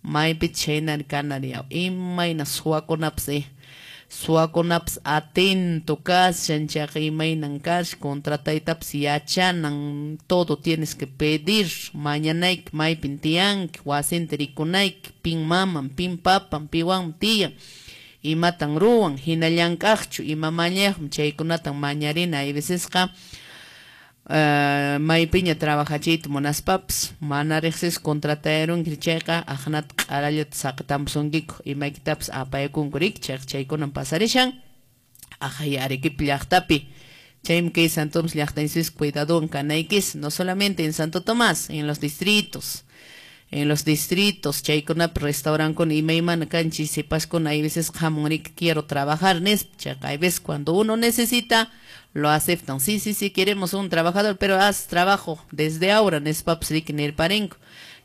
Maypi chhaynari kanari yaw. Imayna suwakunapas suwakunapas atento kashan, chayqa imaynan kashan, contrataytapas yachanan, todo tienes que pedir, mañanayki maypin tiyanki, wasinta rikunayki, pin maman, pin papan, piwanmi tiyan, imatan ruwan, hina llank'aqchu, ima mañayaqmi, chaykunatan mañarina. Hay vecesqa maypiña trabajachiyta munaspapas mana riqsisqa contratayarunki chayqa aqnata q'arallata saqitamusunkiku, imaykitapas apayakunku riki, chayqa chaykunan pasarishan aqhay Arequipa llaqtapi. Chaymi kay Santo Tomás llaqtanchispi cuidadowan kanaykis, no solamente en Santo Tomás, en los distritos. En los distritos, chaykunapi restaurankuna imaymana kanchis, sipaskuna hay veces hamun riki quiero trabajar nispa, chayqa hay veces cuando uno necesita lo aceptan, sí, sí, sí, queremos un trabajador, pero haz trabajo desde ahora nispapas riki nirparinko.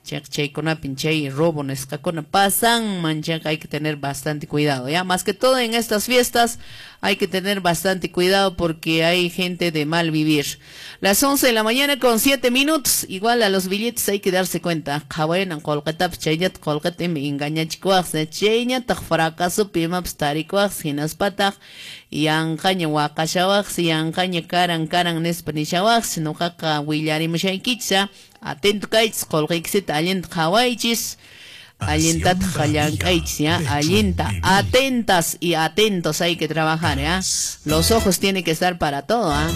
Chayqa chaykunapin chay robo nisqakuna pasanman, chayqa hay que tener bastante cuidado, ya, más que todo en estas fiestas hay que tener bastante cuidado porque hay gente de mal vivir. Las 11 de la mañana con 7 minutos, igual a los billetes hay que darse cuenta, qhawaynan qullqitapas chayllata qullqita ima engañachikuwaqsi, chayñataq fracasopi imapas tarikuwaqsi, hinaspataq yanqaña waqashawaqsi, yanqaña karan karan nispa nishawaqsi. Nuqaqa willarimushaykichis, atento kaychis, qullqiykisita allinta qhawaychis, allintataq llank'aychis, ya, allinta, atentas y atentos hay que trabajar, ya. Los ojos tienen que estar para todo, ¿ah?